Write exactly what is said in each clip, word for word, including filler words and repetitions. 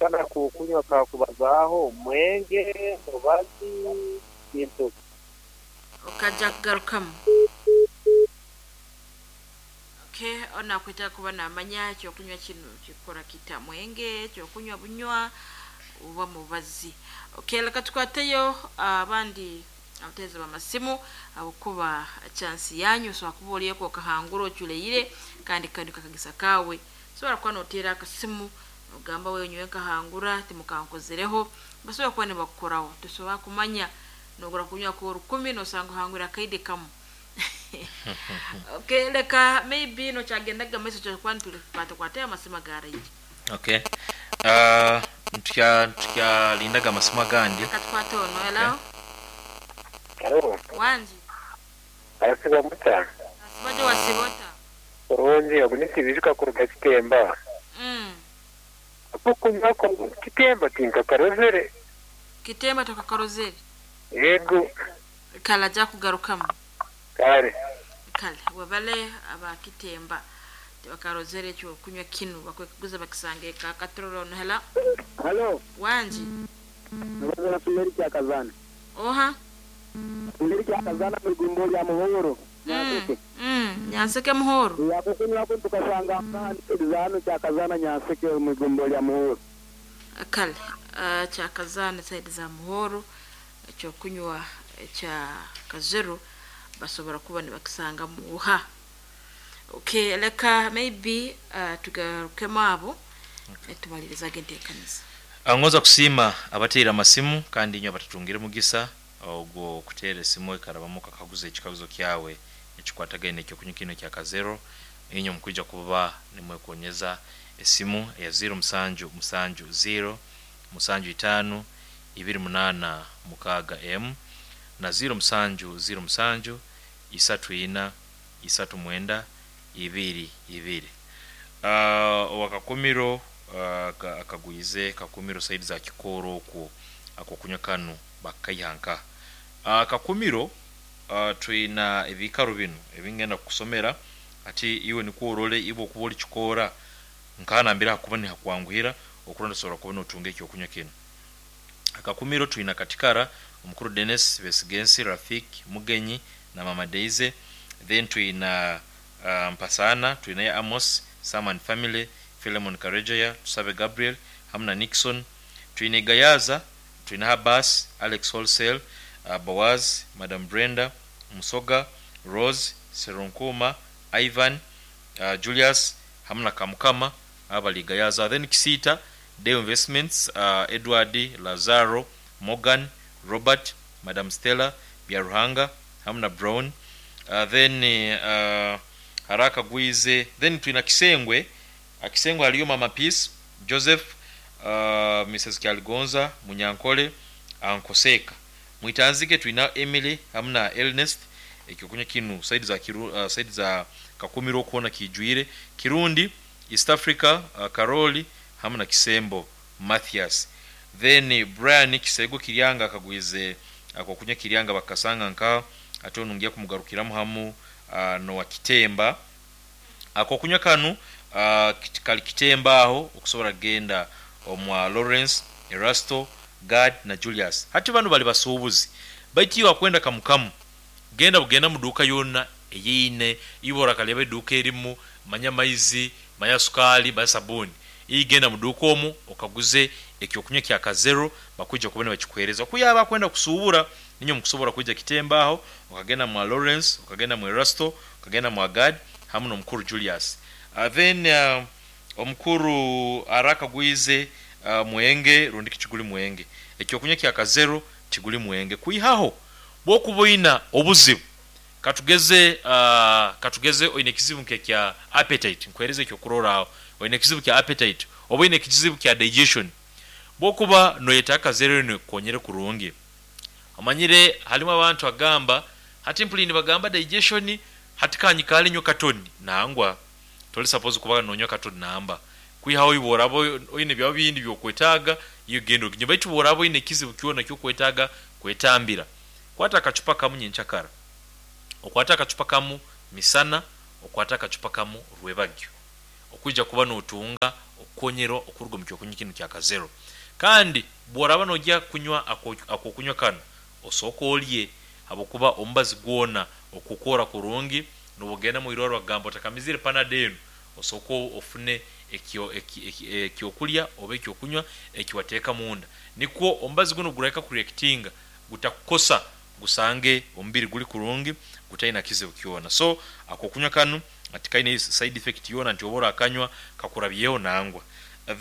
Kano akokunywa kakubazaaho mwenge, mubazi, kintu. Okajja kugarukamu. Okay, ono akwetaaga kuba namanya ekyokunywa kino kikora kita, mwenge, ekyokunywa bunywa oba mubazi. Okay, leka tukwateyo abandi abateereza b'amasimu habwokuba chansi yanyu osobola kuba olieko okahangura oculeire kandi kanu kakagisa kaawe. Osobola kuba noteera akasimu ogamba wewe nyowe nkahangura timukankozereho, basobola kuba nibakukoraho. Tosobola kumanya nogura kunywa k'orukumi nosanga ohangwire akaide kamu. Okay, leka maybe nokyagendaga maiso kyokuba nitukwatakwatayo amasimu agaraije. Okay, uh, ntukya ntukyalindaga amasimu agandi. Leka tukwate ono. Hello? Halo, wangi. Arasiba muta. Asibajo wasibota. Kurungi, ogu nisibijuka kuruga Kitemba. Mm. Akokunywa ko Kitemba tinkakarozere. Kitemba tokakarozere. Yego. Kale ajja kugarukamu. Kale. Kale webale aba Kitemba tebakarozere ekyokunywa kinu bakwekuguza bakisange eka. Katororo ono. Hello? Halo, wangi. Nabaza na Sumeri Kyakazana. Oha. Sumeri Kyakazana mu igumbo lya Muhoro. Mm. Nyanseke. Mm. Nyanseke Muhoro. Yakukunywa ko tukasanga zano Kyakazana Nyanseke mu igumbo lya Muhoro. Kale uh, Kyakazana side za Muhoro ekyokunywa ekya Kazero basobola kuba nibakisanga muha. Okay, leka maybe uh, tugarukemu abo okay. Tumalirizaga enteekaniza. Ngoza kusiima abateera amasimu kandi inywe abatatungire mugisa ogwo kuteera esimu ekarabamu kakaguza ekikaguzo kyawe ekikwatagaine ekyokunywa kino kya Kazero. Inywe mukwija kuba nimwekonyeza esimu eya zero musanju musanju zero musanju itaano ibiri munaana mukaaga m na zero musanju zero musanju isatu ina isatu mwenda ibiri ibiri. Uh, owakakumiro uh, akagwize kakumiro saidi za Kikoro okwo akokunywa kanu bakaihanka. Uh, kakumiro uh, twina ebikaro bino ebingenda kukusomera ati iwe nikwo orole ibo okuba oli Kikora nkanambira hakuba nihakwanguhira okuronda sobola kuba notunga ekyokunywa kino. Akakumiro twina Katikara omukuru Dennis Besigensi Rafik Mugenyi na Mama Deize. Then twina uh, Mpasana twina ya Amos Saman Family Philemon Karejeya Tusabe Gabriel hamna Nixon. Twina Gayaza twina Habas Alex Wholesale uh, Boaz Madam Brenda Musoga Rose Serunkuma Ivan uh, Julius hamna Kamukama abali Gayaza. Then Kisita Day Investments uh, Edward Lazaro Morgan Robert Madam Stella Byaruhanga hamna Brown. Uh, then uh, Haraka Gwize. Then twina Kisengwe Akisengwe aliyo Mama Peace Joseph uh, Missus Kyaligonza Munyankole Ankoseka. Mwitanzike twina Emily hamna Ernest ekyokunywa kinu saidi za kiru, uh, saidi za Kakumiro kuona kijuire Kirundi East Africa uh, Karoli hamna Kisembo Mathias. Then Brian Kisego Kiryanga akagwize akokunywa Kiryanga bakasanga nka ate onungiya kumugarukiramu hamu uh, no wa Kitemba akokunywa kanu uh, kali Kitemba aho okusobola genda omwa Lawrence Erasto Gad na Julius. Hati bano bali basuubuzi baitiwa kwenda kamukamu genda bugenda muduka yonna eyine ibora kalebe duka erimu manya maizi manya sukali manya sabuni igenda muduka omu okaguze ekyokunywa kya Kazero bakuja kubona bakikuhereza kuyaba kwenda kusuubura ninyo mukusobola kuja Kitemba aho okagenda mu Lawrence okagenda mu Erasto okagenda mu Gad hamu n'omukuru Julius. Uh, then uh, omukuru Araka Gwize uh, mwenge rundi kiguli mwenge ekyokunywa kya Kazero kiguli mwenge kuihaho bwokuboina obuzibu katugeze uh, katugeze oine kizibu nke kya appetite nkwereze ekyokurora oine kizibu kya appetite oba oine kizibu kya digestion bwokuba noyeta Kazero ino konyere kurungi. Amanyire halimu abantu agamba hati mpulini bagamba digestion hati kanyikali nyo katoni nangwa toli suppose kuba nonywa katoni namba kwihaho iborabo oine bya bindi byokwetaga iyo gendo kinyo baitu borabo ine kizibu kiona kyo kwetaga kwetambira kwata akachupa kamu nyenchakara okwata akachupa kamu misana okwata akachupa kamu rwebagyo okuja kuba notunga kukonyerwa okuruga mu kyokunywa kinu kya Kazero. Kandi bworaba nojya kunywa akokunywa kano osooka olye, habwokuba omubazi gwona okukora kurungi nobugenda mu irwariro bagamba otakamizire Panadol enu, osooka ofune ekyo ekyokulya oba ekyokunywa ekiwateeka munda, nikwo omubazi guno gurahika kureactinga gutakukosa, gusange omubiri guli kurungi gutaina kizibu kyona. So akokunywa kanu atikaine side effect yona nti oba orakanywa kakurabyeho nangwa.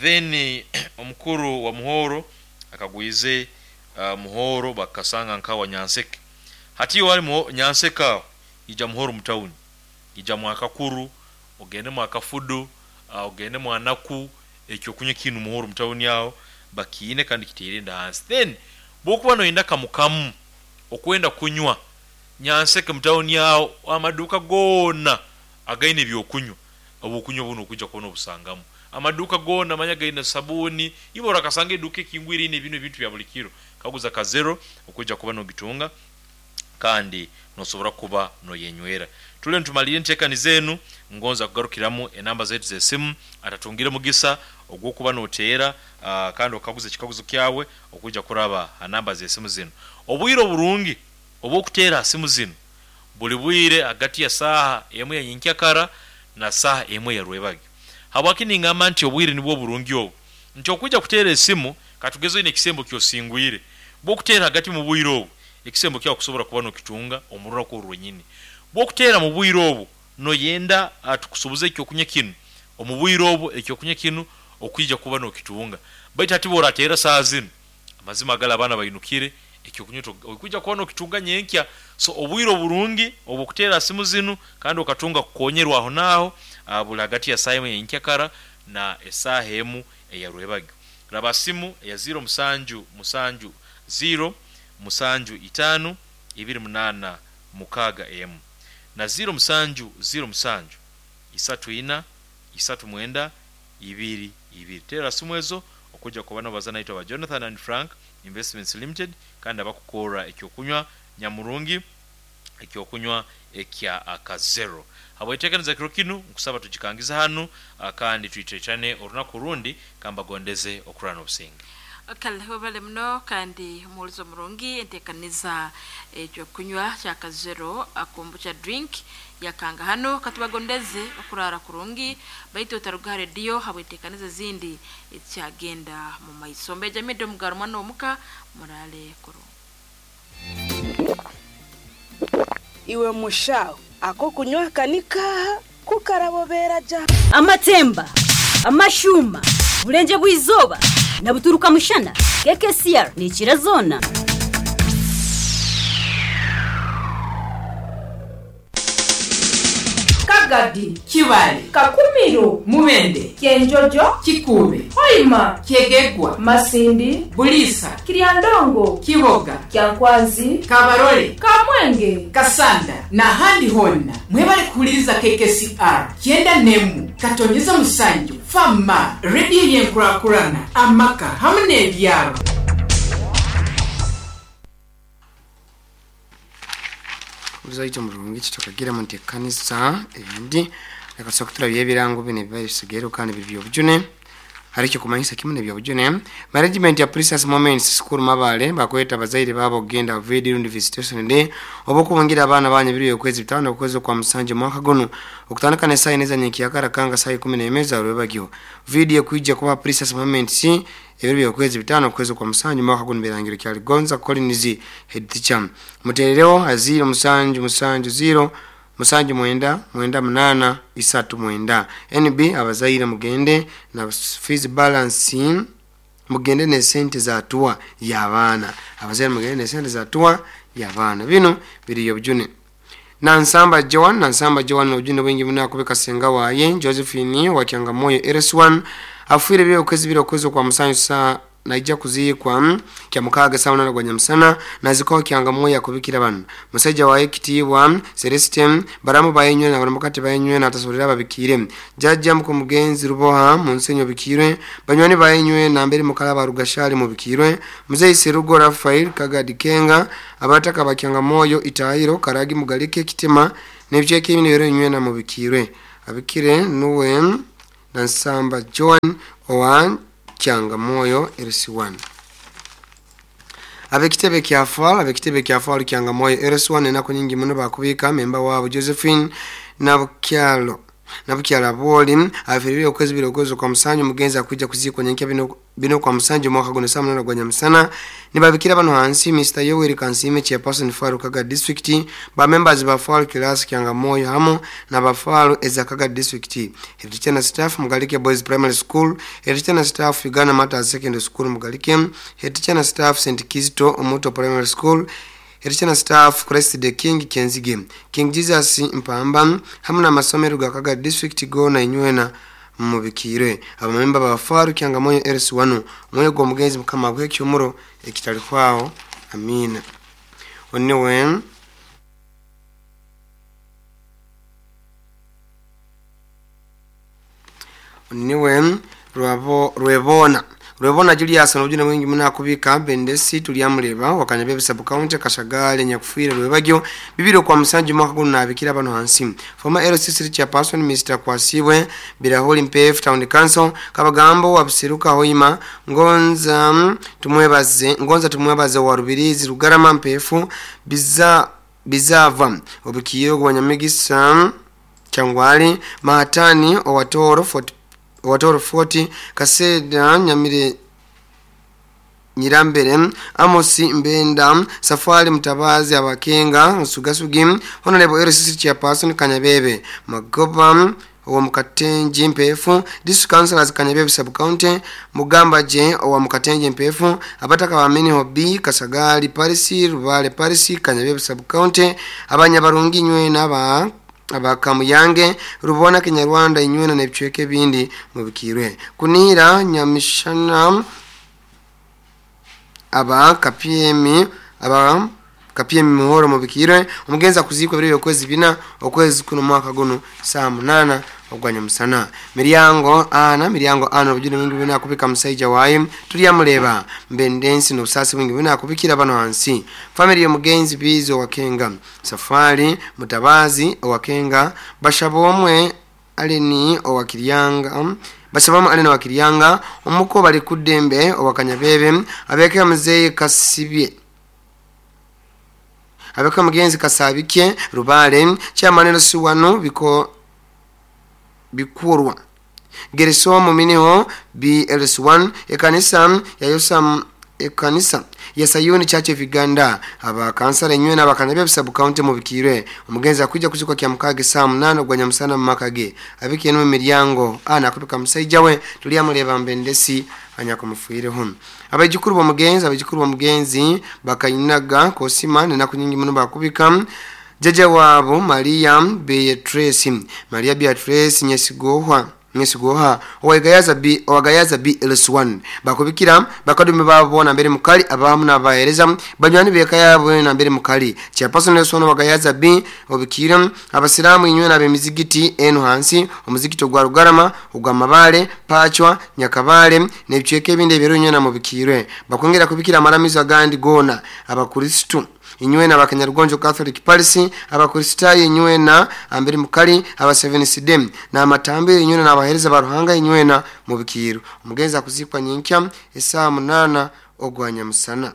Then omukuru wa Muhoro akagwize uh, Muhoro bakasanga nkawa Nyanseke. Hati wali Nyanseke aho ija Muhoro mutawuni, ija mwakakuru, ogende mwakafudu, uh, ogende mwanaku, ekyo kunywa kinu Muhoro mutawuni aho bakiine kandi kitirinda hansi. Then bwokuba noyenda kamukamu okwenda kunywa Nyanseke mutawuni aho amaduka gona againe ebyokunywa obukunywa buno okujja kubona obusangamu amaduka gona manya gaine sabuni ibo orakasanga eduka ekingwire ine bino ebintu bya buli kiro kaguza Kazero okujja kuba nogitunga kandi nosobora kuba noyenywera. Tule ntumalire enteekaniza enu ngonza kugarukiramu enamba zaitu z'esimu atatungire mugisa ogw'okuba noteera uh, kandi okaguza ekikaguzo kyawe okujja kuraba ha namba z'esimu zinu. Obwire oburungi obw'okuteera ha simu zinu buli bwire hagati ya saaha emu ya nyenkyakara na saaha emu ya rwebagyo. Habwaki ningamba nti obwire nibwo burungi obu nti okwijja kuteera esimu katugeze oine ekisembo kyosingwire, bw'okuteera hagati mu bwire obu ekisembo kyawe kusobora kuba nokitunga omu runaku oru rwenyini. Bw'okuteera mu bwire obu noyenda tukusubuze ekyokunywa kinu omu bwire obu ekyokunywa kinu okwija kuba nokitunga, baitu hati bw'orateera saaha zinu amazima gali abaana bainukire ekyokunywa okwija kuba nokitunga nyenkya. So obwire oburungi obw'okuteera simu zinu kandi okatunga kukonyerwa aho naaho buli hagati ya saaha emu eyenkyakara na esaaha emu eya rwebagyo. Raba simu eya ziro musanju musanju ziro musanju itaano ibiri munaana mukaaga emu na ziro musanju ziro musanju isatu ina isatu mwenda ibiri ibiri. Teera simu ezo okujja kuba nobaza naitwe aba Jonathan and Frank Investments Limited kandi abakukora ekyokunywa nyamurungi ekyokunywa ekya Akazero. Habweteekaniza kiro kinu nkusaba tugikangize hanu kandi twitwetane orunaku rundi kambagondeze okurana obusinge. Kale webale muno kandi omuwulizi omurungi enteekaniza ekyokunywa kya Kazero akombucha drink yakanga hano katubagondeze okurara kurungi baitu otaruga rediyo habweteekaniza ezindi ekyagenda mu maiso. Mbeja mido mugaro mwana omuka murale kurungi. Iwe mushaho ako kunywa kanika kukarabobera ja amatemba amashuma bulenje bwizoba na buturuka mushana K K C R ni kirazona. Kagadi, Kibale, Kakumiro, Mubende, Kenjojo, Kikube, Hoima, Kyegegwa, Masindi, Bulisa, Kiryandongo, Kiboga, Kyankwanzi, Kabarole, Kamwenge, Kasanda na handi honna. Mwebale kuhuliriza K K C R kyenda nemu katonyeza musanju fama radio yenkurakurana amaka hamwe n'ebyaro. Uzaito murungi kitokagira mu nteekaniza ebindi akasobola kuturabya ebirango bino ebiba bisigaire kandi biri byobujune. Hari ekyo kumanyisa kimu nebyobujune. Management ya Precious Moments School Mabale bakweta abazaire babo okugenda video rundi visitation day oba okubungira abaana banyu biri okwezi bitano okwezi kwa musanje mwaka guno okutandika ne saa ine za nyenkiyakara kanga saa ikumi n'emwe za rwebagyo. Video kwijja kuba Precious Moments ebiro byokwezi bitano okwezi kwa musanju mwaka guno birangiro kya Ligonza Collins head teacher. Muterereho aziro musanju musanju zero musanju mwenda mwenda munana isatu mwenda. N B abazaire mugende na fees balance mugende ne sente za tuwa ya baana. Abazaire mugende ne sente za tuwa ya baana. Bino biri yobujune. Nansamba Joan, Nansamba Joan obujune bwingi muna kubeka senga waye Josephine wa Kyangamoyo R S one afuire byo kwezi biro kwezi kwa musanju saa naija kuzikwa kya mukaga sawa na gwa nyamusana naziko Kyangamoyo yakubikira bano musajja waye kitibwa Celestine baramu bayenywe na baramukati bayenywe na atasolera babikire jajja mukumugenzi ruboha munsenyo bikirwe banywani bayenywe na mbere mukalaba rugashali mubikirwe muzeyi Serugo Rafael Kagadi Kenga abataka bakyangamoyo itahiro karagi mugalike kitima nebyeke ibintu bero nywe na mubikirwe abikire nuwe Nansamba John owa Kyangamoyo L C one. Abekitebe kya Fal abekitebe kya Fal Kyangamoyo L C one enako nyingi muno bakubika memba wabo Josephine Nabukyalo Nabukyala boli afirire okwezi birogozo kwa musanju mugenzi akujja kuzikwa nyenkya bino bino kwa musanju mwaka guno saa munana gwa nyamusana nibabikira bano hansi Mister Yoweri Kansime chairperson Faru Kaga district ba members ba Faru class Kyangamoyo hamu na ba Faru ezakaga district head teacher na staff Mugalike Boys Primary School, head teacher na staff Uganda Matters Secondary School Mugalike, head teacher na staff Saint Kizito Omuto Primary School, head teacher na staff Christ the King Kenzige King Jesus Mpamba hamu na masomero ga Kaga district gona inywena mubikire abamemba ba Faru Kyangamoyo L C one omwoyo gw'omugenzi mukama gwe kyomuro ekitali kwao amina. Onewe Niwe rwabo rwebona Rwebona Julius n'obujune bwingi muno akubika Bendesi tulyamuleba wakanyabebe sub county Kashagale nyakufiire rwebagyo bibiri kwa musanju mwaka guno nabikira bano hansi former L C C chairperson Mister Kwasibwe Biraholi Mpefu Town Council Kabagambo wabusiruka Hoima Ngonza tumwebaze Ngonza tumwebaze wa Rubirizi Rugarama Mpefu biza bizava obukiyo gwanyamigisa Kyangwali Mahatani Owatoro forty Watoro forty Kaseda Nyamire Nyirambere Amosi Mbenda Safari Mutabazi Abakenga Nsugasugi Honorable L C C chairperson Kanyabebe Magoba owa Mukatenje Mpefu District Councilors Kanyabebe Sub County Mugamba J owa Mukatenje Mpefu abataka ba Mini B Kasagali Parisi Rubale Parisi Kanyabebe Sub County abanyabarungi nywe naba abakamuyange rubona Kinyarwanda inywena n'ebicweke bindi mubikirwe kunira nyamishana aba K P M aba K P M muhoro mubikirwe omugenza kuzikwa biri okwezi bina okwezi kuno mwaka guno saa munana ogwanya musana miryango ana miryango ana obujune mwingi bina kubika musaija wayi tulyamuleba mbendensi n'obusasi bwingi bina kubikira bano hansi family y'omugenzi bizo wakenga Safari Mutabazi owakenga bashabomwe aleni owakiryanga bashabamu aleni owakiryanga omuko bali kuddembe owakanyabebe abeka muzeyi kasibye abeka mugenzi kasabike Rubale chairman siwano biko bikurwa Geresomo miniho B L S one ekanisa ya Yosam ekanisa ya Sayuni Church of Uganda aba kansala enywe n'abakanyabebe sub county mubikirwe omugenzi akujja kuzikwa kya mukage saa munana ogwa nyamusana mu makage abike no miryango ana akubika musaija we tulyamuleba mbendesi anyakumufuireho abajukuru b'omugenzi abajukuru b'omugenzi bakayinaga kosima nenaku nyingi muno bakubika jaja wabo Maria Beatrice Maria Beatrice Nyesigohwa Nyesigoha owagayaza B owagayaza B L S one bakubikira bakadume babona mbere mukali abamu nabahereza banywani beka yabo na mbere mukali chairperson L S one wagayaza B obikira abasiramu inywe nabe mizigiti eno hansi omuzigiti ogwa Rugarama ogwa Mabale Pachwa Nyakabale n'ebicweke ebindi ebiro inywe na mubikirwe bakongera kubikira amaramizo agandi gona abakristo inywena abakanyarugonjo Catholic Parish abakristayo inywena ambere mukali aba seven C D na amatambe inywena n'abahereza baruhanga inywena mubikiro omugenzi akuzikwa nyinkya esaa munana ogwanya musana.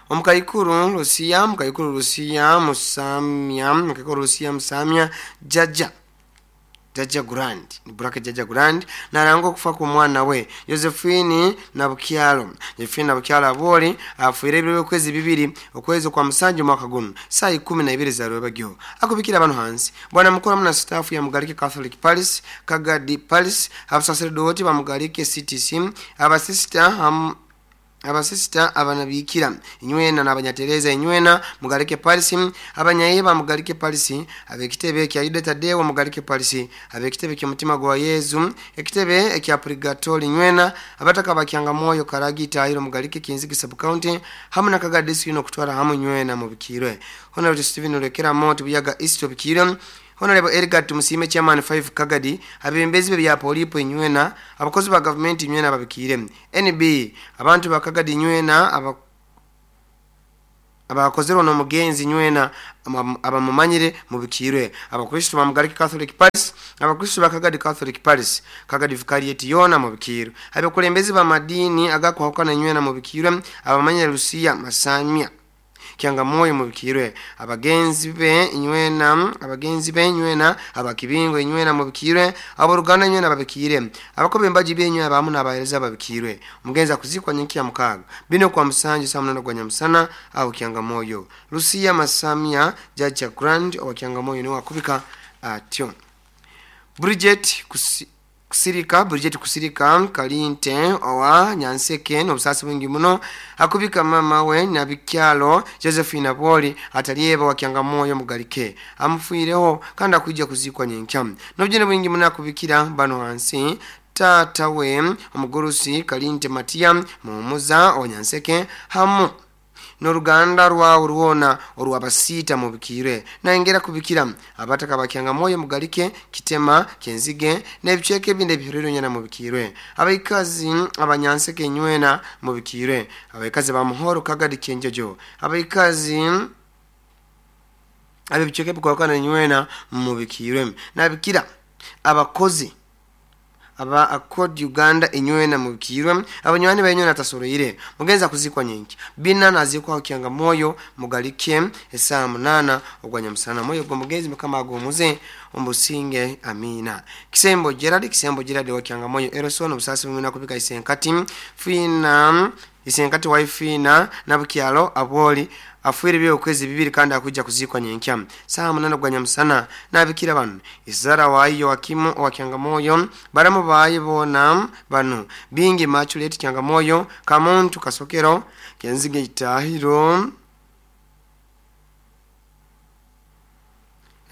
Omukaikuru Lucia Mukaikuru Lucia Musamya Mukaikuru Lucia Musamya Jaja Jaja Grand ni burake Jaja Grand narangwa okufa ku mwana we Josephine Nabukyalo Josephine Nabukyalo aboli afuire ebiro okwezi bibiri okwezi kwa musanju mwaka guno saa ikumi na ibiri za rwebagyo akubikira abantu hansi bwana mukuru muna staff ya Mugalike Catholic Parish Kagadi Parish abasacerdote ba Mugalike C T C abasista ham abasista abanabikira inywena n'abanyatereza inywena Mugalike Parish abanyaiba Mugalike Parish abekitebe kya Yuda Tadeo Mugalike Parish abekitebe kya mutima gwa Yezu ekitebe ekya Purgatori inywena abataka bakyanga moyo Karagita iro Mugalike Kinzigi sub county hamu na Kagadi ino kutwara hamu inywena mubikirwe Honorable Steven Olekera Moti Buyaga East obikirwe Honorable Edgar Tumusime chairman five Kagadi abembezi bya polipo inywena abakozi ba government inywena babikire N B abantu ba Kagadi inywena aba abakozerwa n'omugenzi nywena abamumanyire mubikirwe. Abakristo bamugariki Catholic Paris, abakristo bakagadi Catholic Paris kagadi vicariate yona mubikirwe. Abakulembezi ba madini agakwahukana nywena mubikirwe. Abamanyire Lucia Masamia Kyangamoyo mubikirwe. Abagenzi be nywena abagenzi be nywena abakibingo nywena mubikirwe. Aboruganda nywena babikire. Abakobe mbaji be nywena bamu nabahereza babikirwe. Omugenzi akuzikwa nyenki ya mukaga bino kwa musanju saa munana gwa nyamusana au Kyangamoyo. Lucia Masamia Jaja Grand wa Kyangamoyo niwe akubika atyo. Bridget kusi Kusirika Bridget Kusirika Kalinte owa Nyanseke n'obusasi bwingi muno akubika mama we Nabikyalo Josephine Aboli atalieba wa Kyangamoyo mugalike amufuireho kandi akwijja kuzikwa nyenkya. N'obujune bwingi muno akubikira bano hansi tata we omugurusi Kalinte Matia Muhumuza owa Nyanseke hamu n'oruganda rwawe rwona orwabasiita mubikire. Nayengera kubikira abataka bakyangamoyo mugalike Kitema Kenzige n'ebicweka ebindi ebihuriro nyana mubikirwe. Abaikazi abanyanseke nywena mubikirwe. Abaikazi ba Muhoro Kagadi Kyenjojo, abaikazi ab'ebicweka ebikwakana nywena mubikirwe. Nabikira abakozi aba Accord Uganda enywena mubikirwe. Abanywani bayenywena tasoroire mugenza kuzikwa nyenki bina nazikwa Kyangamoyo mugalike esaa munana ogwa nyamusana. Moyo gwo mugenzi mukama agomuze ombusinge amina. Kisembo Gerard Kisembo Gerard wa Kyangamoyo Eroson obusasi bumina kubika isenkati fina isenkati waifina nabukyalo aboli afuire byo kwezi bibiri kandi akujja kuzikwa nyenkya saa munana gwa nyamusana. Nabikira bano izara wayo wakimu wa Kyangamoyo baramu bayi bona bano bingi machulet Kyangamoyo Kamuntu Kasokero Kenzige Itahiro.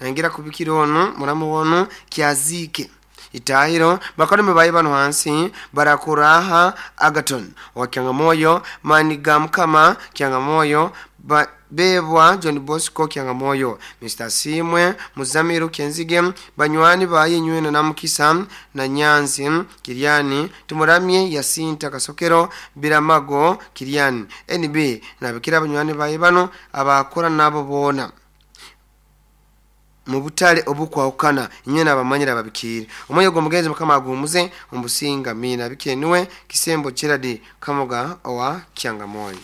Nangira kubikira ono muramu wono Kyazike Itahiro bakorume bayi bano hansi Barakuraha Agaton wa Kyangamoyo Manigamkama Kyangamoyo ba Bebwa John Bosco Kyangamoyo Mister Simwe Muzamiru Kenzige banywani bayi nywena na Mukisa na Nyanzi Kiriani Tumuramye Yasinta Kasokero Biramago Kiriani N B nabikira banywani bayi bano abakora nabo bona mubutale obukwahukana nywena abamanyira babikire. Omoyo gwo mugenzi mukama agumuze ombusinga mina bikenuwe Kisembo Gerard Kamoga owa Kyangamoyo.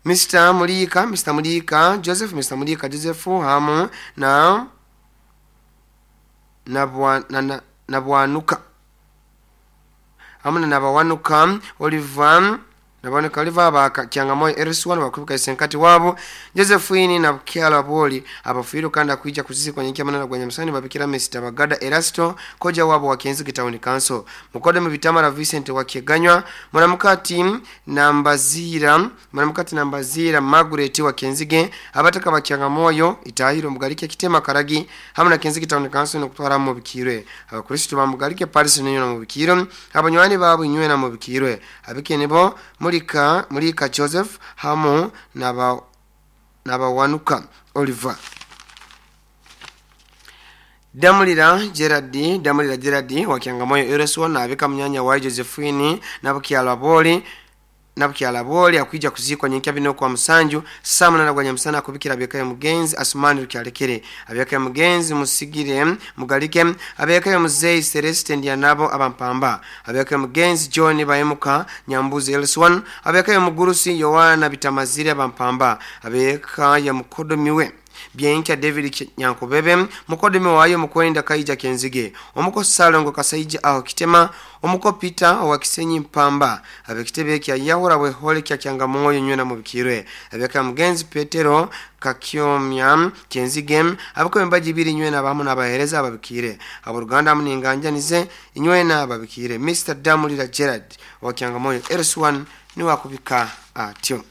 Mister Mulika Mister Mulika Joseph Mister Mulika Joseph hamu na na na nabwanuka hamu na nabawanuka Oliver nabawanuka Oliver abaka Kyangamoyo Eriswan bakubika isenkati wabo Josephine na Bukyalo Aboli abafuiro kandi akwijja kuzikwa nyenkya manana gwa nyamusani babikira Mister Bagada Erasto koja wabo wa Kenzige Town Council mukodo mu bitamara Vincent wa Keganywa muramukati nambazira muramukati nambazira Margaret wa Kenzige abataka ba Kyangamoyo Itahiro mugalike Kitema Karagi hamwe na Kenzige Town Council no kutwara mu bikirwe. Abakristo ba mugalike Paris niyo na mubikiro abanywani babo inywe na mubikirwe abikene bo Mulika Mulika Joseph hamu naba nabawanuka Oliver. Damulira Gerard Damulira Gerard wa Kyangamoyo Ereswa na abika mnyanya wa Josephine nabukyalo Aboli nabukyalo Aboli akwijja kuzikwa nyenkya bino kwa musanju saa munana gwa nyamusana akubikira abeka mugenzi Asumani Rukyalekere abeka mugenzi Musigire Mugalike abeka muzeyi Celeste Ndianabo abampamba abeka mugenzi John Bayemuka Nyambuzi Elswan abeka mugurusi Yohana Bitamazire abampamba abeka ya mukodomiwe Bienka David Nyankobebe mukodome wayo mukwenda Kaija Kenzige omuko Salongo Kasaija aho Kitema omuko Peter wa Kisenyi Mpamba abekitebe kya Yahura we hole kya Kyangamoyo nywena mubikirwe abeka mugenzi Petero Kakyomya Kenzige abako mbaji biri nywena abamu nabahereza ababikire aboruganda muninganja inywena ababikire. Mister Damulira Gerard wa Kyangamoyo Erswan ni wakubika atyo.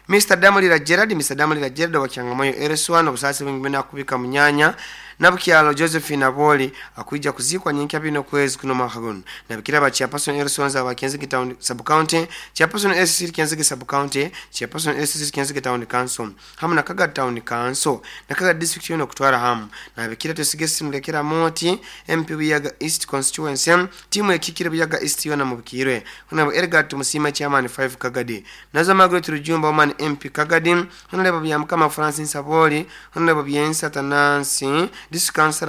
Mister Damulira Gerard Mister Damulira Gerard wa Kyangamoyo Erswan obusasi bwingi bena kubika munyanya Nabukyalo Josephine Aboli akwija kuzikwa nyenkya bino kwezi kuno mwaka guno. Nabikira ba chairperson Erisonza wa Kenzige Town Sub County, chairperson S C Kenzige Sub County, chairperson S C Kenzige Town Council hamu na Kaga Town Council na Kaga District yono kutwara hamu. Nabikira tusigesi mulekera moti M P Buyaga East Constituency timu ekikire Buyaga East yona mubikirwe. Honorable Edgar Tumusima chairman five Kagadi, Nazo Margaret Rujumba woman M P Kagadi, Honorable Byamukama Francis Saboli, Honorable Byensa Tanansi District Council.